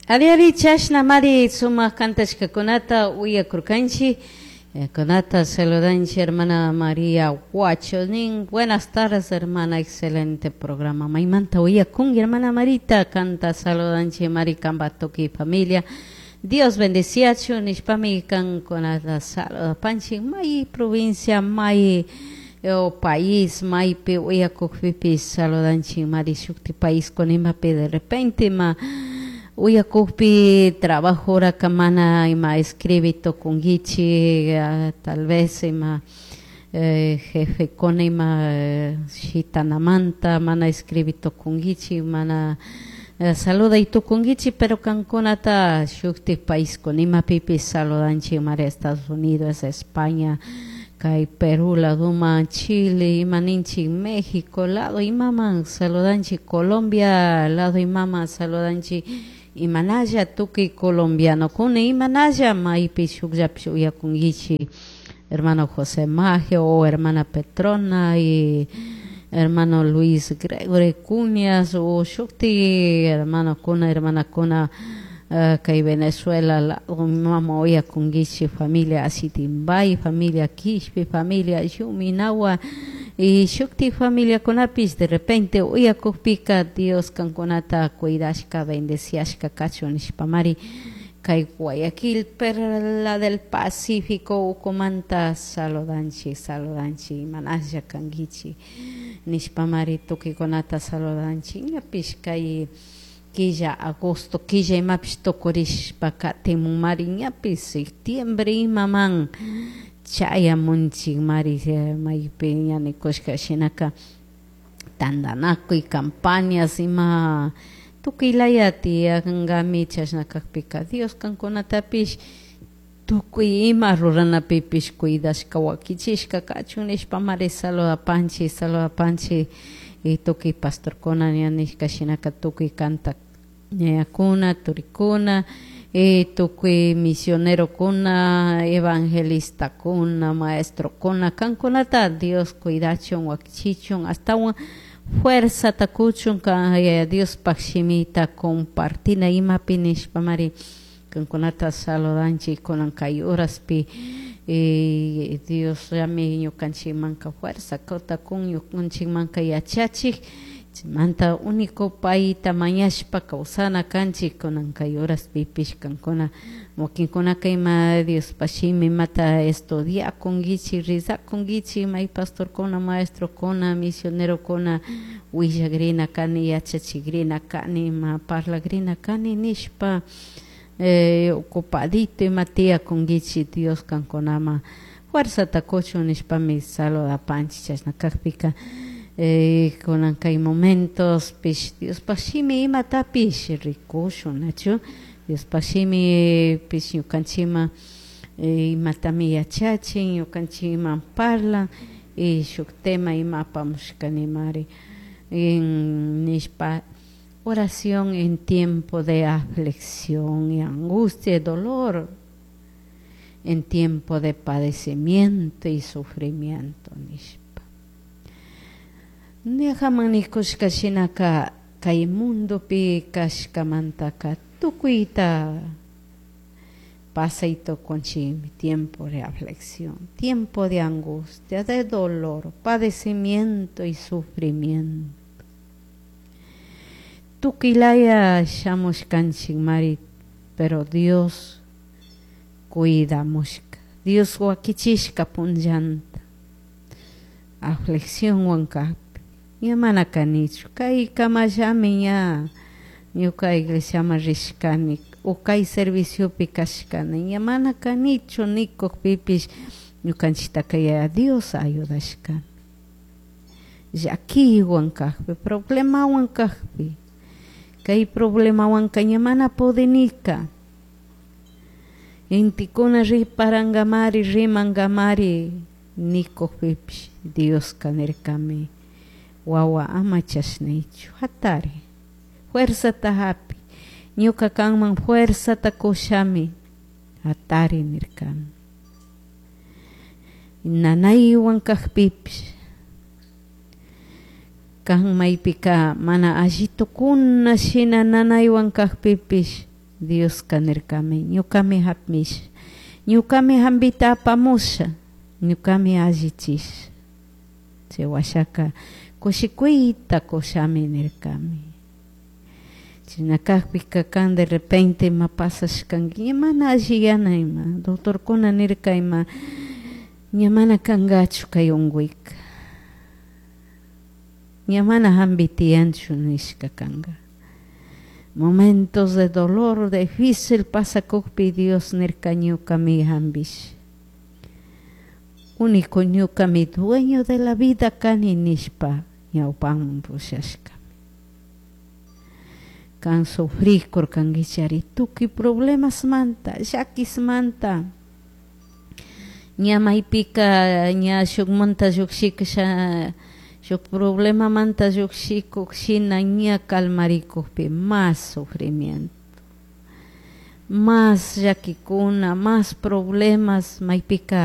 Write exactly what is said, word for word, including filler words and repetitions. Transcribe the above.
Ariari chashna mari sumaq kantashkakunata uyakurkanchik. Kunata saludanchik hermana María Huacho nin. Buenas tardes, hermana, excelente programa. Maymanta uyakunki, hermana Marita, kanta saludanchik mari kanpa tukuy familia. Dios bendeciachun nishpami kankunata saludapanchik may provincia, may o país, maypi uyakukpipis saludanchik mari shukti país kunimapi de repente ma uyakukpi trabajo horaka mana ima escribi tukunkichik, tal vez ima eh, jefekuna ima shitanamanta mana escribi tukunkichik, mana saluday tukunkichik, pero kankunata shuktik país kunimapipis saludanchik mari Estados Unidos, España, kay Perú ladoman, Chile, ima ninchik México lado imaman saludanchik, Colombia lado imaman saludanchik, imanalla tukuy colombianokuna, imanalla maypi shukllapish uyakunkichik hermano José Magio o hermana Petrona y hermano Luis Gregory Cuñas o shukti hermanokuna, hermanakuna uh, kay Venezuela lado mama uyakunkichik familia Asitimbay, familia Quishpi, familia Yuminawa y shukti familiakunapis de repente uyakukpika Dios kankunata cuidashka, bendeciashka kachun nishpamari kay Guayaquil, Perla del Pacífico ukumanta saludanchik, saludanchik imanalla kankichik nishpamari tukuykunata saludanchik ñapish kay killa agosto killa imapish tukurishpa katimunmari ñapish septiembre imaman chayamunchik mari maypi ña nikushka shinaka tandanakuy campañas ima tukuy laya tiyankami chashna kakpika Dios kankunatapish tukuy ima ruranapipish cuidashka wakichishka kachun nishpamari saludapanchik, saludapanchik y tukuy pastorkuna ña nishka shinaka tukuy kanta ñayakuna, turikuna y tukuy misionerokuna, evangelistakuna, maestrokuna kankunata Dios cuidachun wakichichun astawan fuerzata kuchun kan Yaya Diospaj shimita compartina imapi nishpamari kankunata saludanchik kunan kay horaspi y Diosllami ñukanchikmanka fuerza kun ñukanchikmanka yachachik chaymanta único payta mañashpa kawsana kanchik kunan kay horaspipish kankuna wakinkunaka ima Diospaj shimi imata estudiakunkichik rezakunkichik may pastorkuna, maestrokuna, misionerokuna willakrina kani yachachikrina kani ima parlakrina kani nishpa eh, ocupadito ima tiyakunkichik Dios kankunaman fuerzata kuchun nishpami saludapanchik chashna kakpika eh, kunan kay momentos pish Diospaj shimi imatapish rikushun nachu Diospaj shimi pish ñukanchikman eh, imatami yachachin ñukanchikman parlan y shuk tema ima apamushkanimari nishpa oración en tiempo de aflicción y angustia y dolor, en tiempo de padecimiento y sufrimiento nishpa. Ñajaman nikushka shinaka kay mundopi kashkamantaka tukuyta pasay tukunchikmi tiempo de aflicción, tiempo de angustia, de dolor, padecimiento y sufrimiento. Tukuylaya shamushkanchik mari, pero Dios cuidamushka, Dios wakichishka punllanta aflicciónwan kakpi ña mana kanichu kay kamallami ña ñuka iglesiaman rishkani o kay serviciopi kashkani ña mana kanichu nikukpipish ñukanchiktaka Yaya Dios ayudashkami llakiywan kakpi problemawan kakpi kay problemawanka ña mana pudinika intikuna riparankamari rimankamari nikukpipish Dioska nirkami wawa ama chashnaychu hatari fuerzata hapi ñuka kanman fuerzata kushami hatari nirkami nanaywan kakpipish kan maypika mana allitukuna shina nanaywan kakpipish Dioska nirkami ñukami hapmisha, ñukami hampita apamusha, ñukami allichisha. Chay washaka kushikuyta kushami nirkami. Chashna kakpika kan de repente ima pasashkanki ña mana alliyana ima doctorkuna nirka ima ña mana kankachu kay unkuyka, ña mana hampi tiyanchu nishka kanka. Momentos de dolor difícil pasakukpi Dios nirka ñukami hampisha, único ñukami dueño de la vida kani nishpa ñawpaman pushashkami. Kan sufrikurkankichari tukuy problemasmanta, llakismanta, ña maypika ña shukmanta llukshikasha shuk problemamanta llukshikuk shina ña calmarikukpi mas sufrimiento, mas llakikuna, mas problemas maypika.